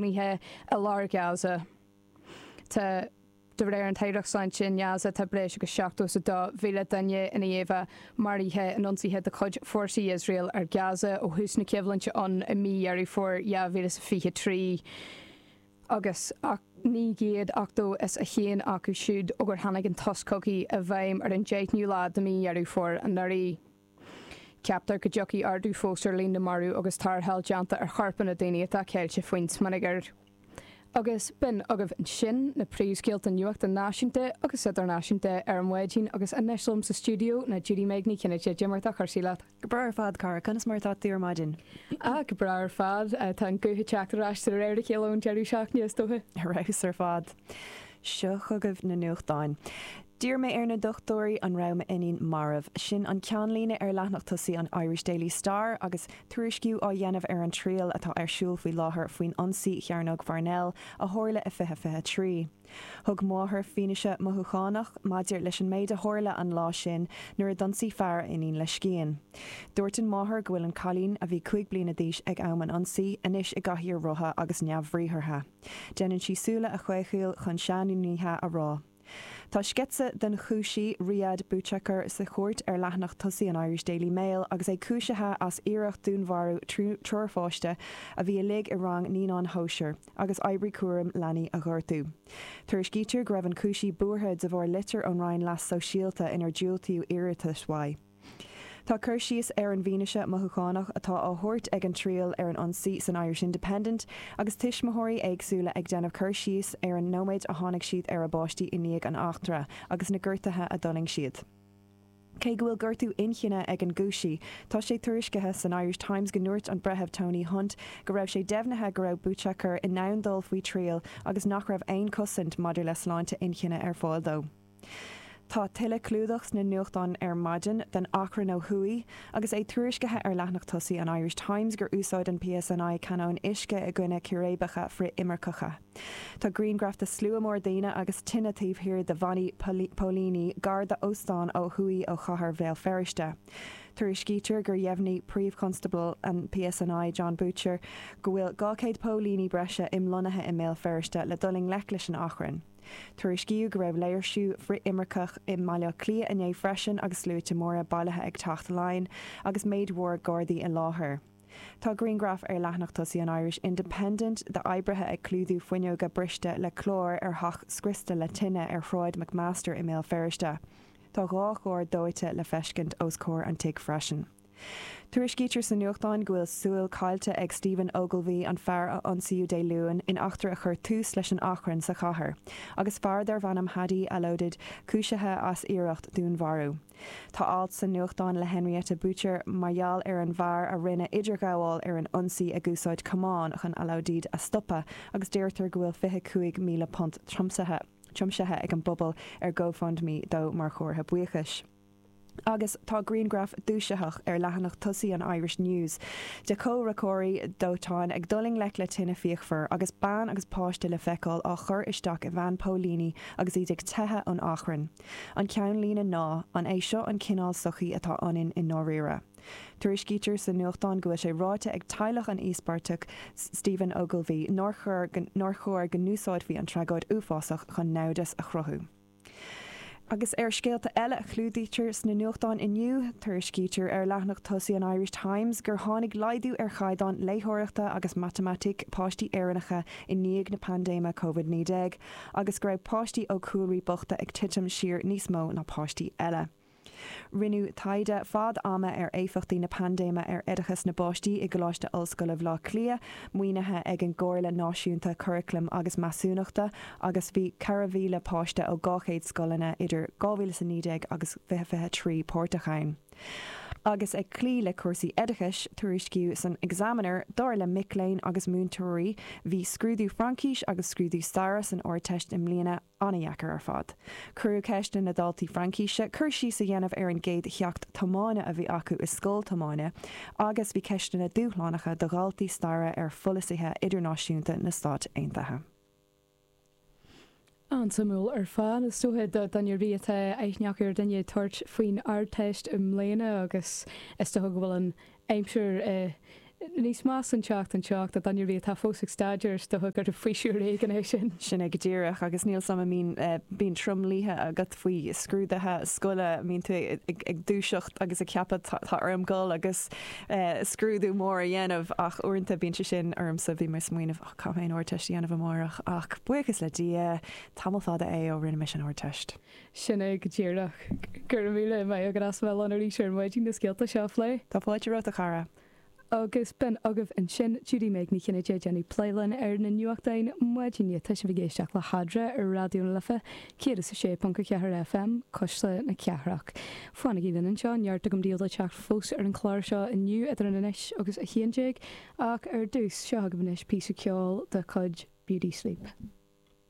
lonnaithe i lár Gaza. Tá. De réir an tAireacht Sláinte i nGaza tá breis agus 72,000 duine i ndiaidh a bheith maraithe in ionsaithe de chuid fórsaí Iosrael ar Gaza ó thús na coimhlinte ann i mí Dheireadh Fómhair 2023 agus 981 acu siúd ó gur tháinig an tost cogaidh i bhfeidhm ar an 10ú lá de mí Dheireadh Fómhair anuraidh. Ceaptar go dtiocfaidh ardú fós ar líon na marbh agus tarrtháil déanta ar chorpanna daoine atá ceilte faoin smionagar. Agus b'in agaibh ansin na príomhscéalta nuachta náisiúnta agus idirnáisiúnta ar maidin agus anois liom sa stiúideo ná Judy-Meg Ní Chinnéide. Cad é mar atá cúrsaí leat? Go breá ar fad, cara. Conas mar atá tú ar maidin? Ah, go breá ar fad. Tá an guth ag teacht ar ais de réir a chéile ón deireadh seachtaine, is dócha. Ar fheabhas ar fad. Seo chugaibh na nuachtáin. D'iarr mé ar na dochtúirí an raibh m'iníon marbh. Sin an ceannlíne ar leathanach tosaigh an Irish Daily Star agus tuairisciú á dhéanamh ar an triail atá ar siúl faoi láthair faoin ionsaí Chearnóg Pharnell a tharla i 2023. Thug máthair fianaise mothúchánach maidir leis an méid a tharla an lá sin nuair a d'ionsaigh fear a iníon le scian. Dúirt an mháthair go bhfuil an cailín, a bhí 5 bliana d'aois ag am an ionsaí, anois i gcathaoir rotha agus neamhbhriathartha. Déanann sí súile a chaochaíl chun seanfhinnéithe a rá. Tá sceitse den chúisí, Riyad Bouchaker, sa chúirt ar leathanach tosaigh an Irish Daily Mail agus é cúisithe as iarracht dúnmharú triúr pháiste a bhí uilig i rang naíonáin shóisir agus oibrí cúraim leanaí a ghortú. Tuairiscítear go raibh an cúisí buartha de bharr litir ón Roinn Leas Sóisialta inar diúltaíodh iarratas uaidh. Tá cur síos ar an bhfianaise mothúchánach atá á thabhairt ag an triail ar an ionsaí san Irish Independent agus tuismitheoirí éagsúla ag déanamh cur síos ar an nóiméad a tháinig siad ar a bpáistí i ndiaidh an eachtra agus na gortuithe a d'fhulaing siad. Cé go bhfuil gortú inchinne ag an gcúisí, tá sé tuairiscithe san Irish Times go ndúirt an Breitheamh Tony Hunt go raibh sé deimhnithe go raibh Bouchaker in ann dul faoi thriail agus nach raibh aon chosaint maidir le sláinte inchinne ar fáil dó. Tá tuilleadh clúdach sna nuachtáin ar maidin den achrann ó thuaidh agus é tuairiscithe ar leathanach tosaigh an Irish Times gur úsáid an PSNI canóin uisce i gcoinne círéibeacha frith-imirceacha. Tá grianghraf de slua mór daoine agus tine taobh thiar de bhannaí póilíní gar d'óstán ó thuaidh ó chathair Bhéal Feirste. Tuairiscítear gur dheimhnigh Príomh-Chonstábla an PSNI, Jon Boutcher, go bhfuil 200 póilíní breise imlonnaithe i mBéal Feirste le dul i ngleic leis an achrann. Tuairiscíodh go raibh léirsiú frith-imirceach i mBaile Átha Cliath inné freisin agus sluaite móra bailithe ag Teach Laighean agus méid mhór Gardaí i láthair. Tá grianghraf ar leathanach tosaigh an Irish Independent d'oibrithe ag clúdú fuinneoga briste le clár ar theach scriosta le tine ar Shráid McMaster i mBéal Feirste. Tá 2 charr dóite le feiscint os comhair an tigh freisin. Tuairiscítear sa nuachtán go bhfuil súil caillte ag Stephen Ogilvie, an fear a ionsaíodh Dé Luain in eachtra a chuir tús leis an achrann sa chathair, agus fear darbh ainm Hadi Alodid cúisithe as iarracht dúnmharú. Tá alt sa nuachtán le Henrietta Butcher mar gheall ar an bhfear a rinne idirghabháil ar an ionsaí ag úsáid camán chun Alodid a stopadh agus deirtear go bhfuil £25,000 tiomsaithe ag an bpobal ar GoFundMe dó mar chomhartha buíochais. Agus tá grianghraf dúisitheach ar leathanach tosaigh an Irish News de chomhraiceoirí dóiteáin ag dul i ngleic le tine fíochmhar agus bean agus páiste le feiceáil á chur isteach i veain póilíní agus iad ag teitheadh ón achrann. An ceannlíne ná, An é seo an cineál sochaí atá ionainn i ndáiríre? Tuairiscítear sa nuachtán go bhfuil sé ráite ag teaghlach an íospartaigh, Stephen Ogilvie, nár chóir go n-úsáidfí an tragóid uafásach chun naimhdeas a chruthú. Agus ar scéalta eile a chlúdaítear sna nuachtáin inniu, tuairiscítear ar leathanach tosaigh an Irish Times gur tháinig laghdú ar chaighdeán léitheoireachta agus matamaitice páistí Éireannacha i ndiaidh na paindéime Covid-19 agus go raibh páistí ó chúlraí bochta ag titim siar níos mó ná páistí eile. Rinneadh taighde fad ama ar éifeachtaí na paindéime ar oideachas na bpáistí i gColáiste Ollscoile Bhaile Átha Cliath, maoinithe ag an gComhairle Náisiúnta Curaclaim agus Measúnachta, agus bhí 4,000 páiste ó 200 scoileanna idir 2019 agus 2023 páirteach ann. Agus ag cloí le cúrsaí oideachais, tuairiscíodh san Examiner, dar le mic léinn agus múinteoirí, bhí scrúdú Fraincise agus scrúdú Staire san Ardteist i mbliana, An-dheacair ar fad. Cuireadh ceist ar na daltaí Fraincíse cur síos a dhéanamh ar an gcéad cheacht tiomána a bhí acu i scoil tiomána agus bhí ceisteanna dúshlánacha do dhaltaí staire ar pholasaithe idirnáisiúnta na Stát Aontaithe. An-suimiúil ar fad. Is dócha do dhuine ar bith atá aithne acu ar dhuine ag tabhairt faoin Ardteist i mbliana agus is dócha go bhfuil an aimsir i. Níos measa an teacht anseo do dhuine ar bith atá fós ag staidéar, is dócha gur faoiseamh ar éigean é sin. Sin é go díreach, agus níl 's a'm an mbíonn, bíonn tromluithe agat faoi scrúduithe scoile, an mbíonn tú ag dúiseacht agus ag ceapadh tá orm dul agus scrúdú mór a dhéanamh ach uaireanta bíonn sé sin ormsa, bhí mé ag smaoineamh oh caithfidh mé an Ardteist a dhéanamh amárach ach buíochas le Dia, tamall fada é ó rinne mise an Ardteist. Sin é go díreach. Go raibh míle maith agat as a bheith linn arís ar maidin na scéalta seo a phlé. Tá fáilte romhat a chara. Agus b'in agaibh ansin Judy Meg Ní Chinnéide ag déanamh plé linn ar na nuachtáin maidine. Tá sibh ag éisteacht le hEadra ar Raidió na Life 106.4 FM, Cuisle na Cathrach. Fanaigí linn anseo, neart agam daoibh le teacht fós ar an chlár seo inniu idir an anois agus 11 ach ar dtús, seo agaibh anois píosa ceoil de chuid Beauty Sleep.